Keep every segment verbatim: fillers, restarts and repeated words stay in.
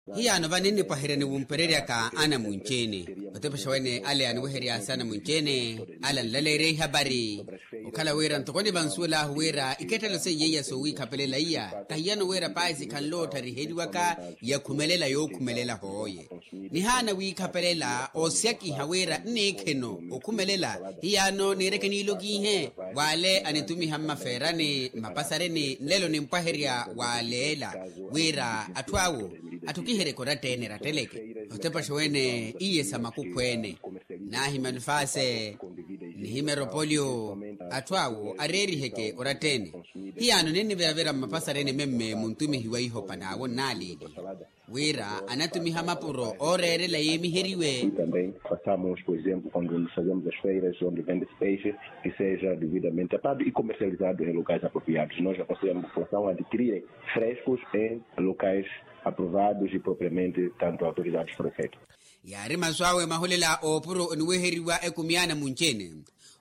Hiyaano vano ennipwaherya ni wumpereryaka anamunci-ene. Otepexa wene ale aniweheryasi anamunci-ene, ale anlaleerya ihapari. Okhala wira ntoko nivansuwel'ahu wira ikettelo seiye iya soowiikhapelela iya kahiyano wira paisi khanloottariheriwaka, yakhumelela yookhumelela hooye. Nihaana wiikhapelela oosyakiha wira nniikheno okhumelela. Hiyaano niireke niilokiihe, w'ale anitumiha mmafeerani mmapasareni nlelo nimpwaherya w'aleela, wira atthu awo atthukiheryeke oratta-ene eratteleke. Otepaxa wene iye sa makukhwe-ene, naahimya nfaase, nihimya eropoliyo. Atthu awo areeriheke oratta-ene. Hiyaano ninniviravira mmapasareni memme muntumihi wa ihopa n'awo nnaaleeliha, wira anatumiha mapuro ooreerela yeemiheriwe. Também passamos por exemplo quando nos fazemos as feiras onde vende-se peixe, que seja devidamente tapado e comercializado em locais apropriados. Nós aconselhamos a população a adquirirem frescos em locais aprovados e propriamente tanto autorizados por efeito. Yaari masu awe maholela oopuro oniweheriwa ekumi ya anamunci-ene.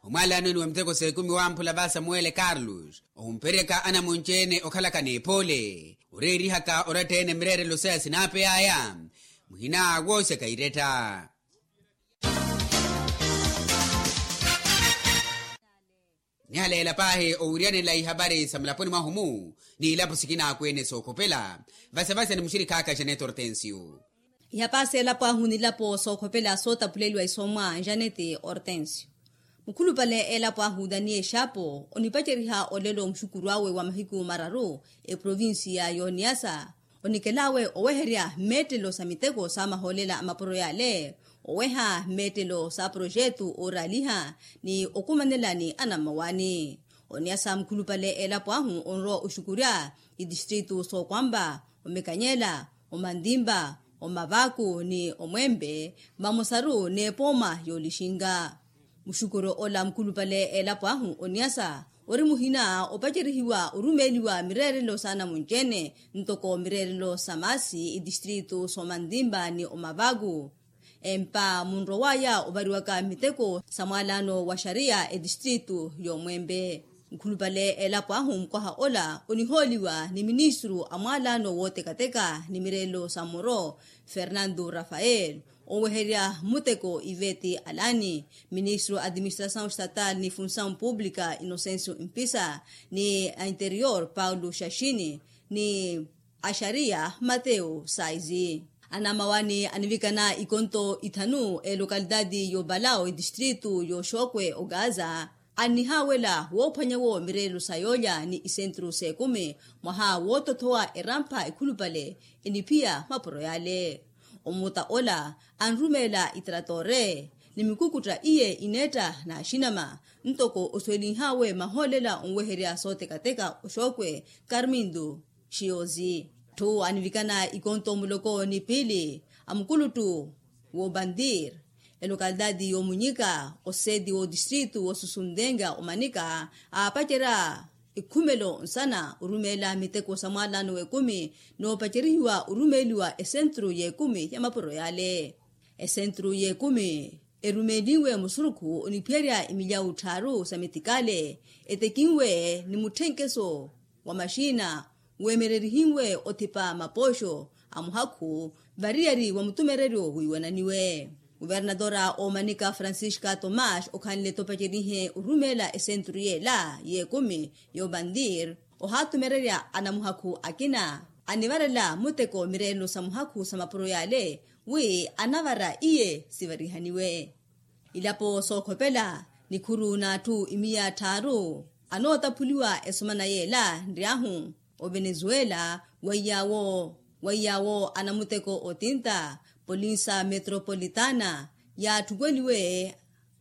Omwaalano eni wa miteko s'ekumi wamphula va samuwele carlos ohumperyaka anamunci-ene okhalaka n'ephoole, oreerihaka oratta-ene mireerelo saya sinaapey'aya. Muhina wooxeka iretta. Nihaleela paahi owiryanela ihapari sa mulaponi mwahu-mu n'ilapo sikinaakweene sookhopela. Vasevase ni muxirikh'aka janeto ortensio. Ihapari s'elapo ahu n'ilapo sookhopela sootaphuleliwa isomwa janeto ortensio. Mukhulupale elapo ahu daniel xapo onipaceriha olelo muxukuru awe wa mahiku mararu eprovincia y'oniyasa, onikel'awe oweherya mmeettelo sa miteko sa mahoolela a mapuro y'ale, oweha mmeettelo sa projetu ooraaliha ni okumanela ni anammawaani. Oniyasa mukhulupale elapo ahu onrowa oxukurya itistritu sookwampa, omikanyela, omantimpa, omavaku ni omwempe, vamosaru n'epooma y'olixinka. Muxukuru ola mukhulupale elapo ahu oniyasa ori muhina opacerihiwa orumeeliwa mireerelo sa anamunci-ene ntoko mireerelo sa maasi itistritu s'omantimpa ni omavaku. Empa munrow'aya ovariwaka miteko sa mwaalano wa xariya etistritu y'omwempe. Nkhulupale elapo ahu mukwaha ola onihooliwa ni ministru a mwaalano wootekateka ni mireelo sa mmoro, fernando rafael, oweherya muteko iveti alani, ministru a administrasaw estatal ni funsaw publika inocencio mpisa, ni a interior paulo xaxini, ni a xariya mateu saizi. Anamawani anivikana ikonto ithanu elokalitati y'obalao etistritu y'oxokwe ogaza, annihaawela woophwanyawo mireelo sa yoolya ni isentru s'ekumi mwaha wootothowa erampha ekhulupale eniphiya mapuro yale. Omuta ola anrumeela itaratore ni mikukutta iye ineetta n'axinama, ntoko osuwelinhawe mahoolela onweherya sootekateka oxokwe, carmindu xiyozi. Atthu anivikana ikonto muloko ni piili a mukuluttu w'obandir, elokalitati y'omunyika, oseeti w'otistritu w'osusuntenga omanika, aapacerya ikhumelo nsana orumeela miteko sa mwaalano w'ekumi, n'opacerihiwa orumeeliwa esentru y'ekumi ya mapuro yale. Esentru y'ekumi erumeeliwe musurukhu oniphiyerya emilyawu tthaaru sa mitikaale, etekinwe ni mutthenkeso wa maxina, weemererihinwe othipa mapooxo a muhakhu variyari wa mutumereryo wiiwananiwe. Kuvernatora oomanika francisca tomas okhanle topacerihe orumeela esentru yeela y'ekumi y'obandir, ohaatumererya anamuhakhu akina anivarela muteko mireelo sa muhakhu sa mapuro yale, wi anavara iye sivarihaniwe. Ilapo sookhopela nikhuru n'atthu imiya tthaaru anootaphuliwa esomana yeela nryahu ovenezuela, weiyawo weiyawo anamuteko otinta polinsa metropolitana yaatthukeliwe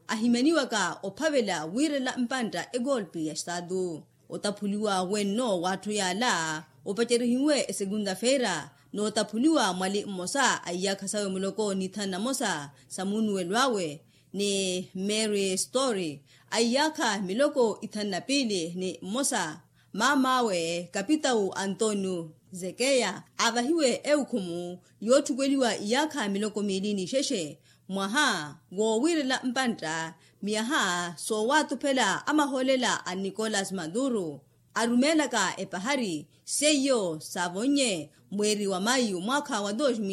ahimyaniwaka ophavela wiirela mpantta egolpi ya estatu. Otaphuliwa wenno w'atthu yaala opacerihiwe esekunda feira, n'otaphuliwa mwali mmosa a iyaakha sawe muloko ni thanu na mosa sa muunuwelo awe, ni mary story a iyaakha miloko ithanu na piili ni mmosa. Maam'awe kapitawu antonio zekeya aavahiwe ewukhumu yootthukweliwa iyaakha miloko miili n'ixexe mwaha woowiirela mpantta miyaha soowaatuphela amahoolela a nicolas maduro. arumeelaka epahari seiyo saavonnye mweeri wa mayu mwaakha wa dos mil.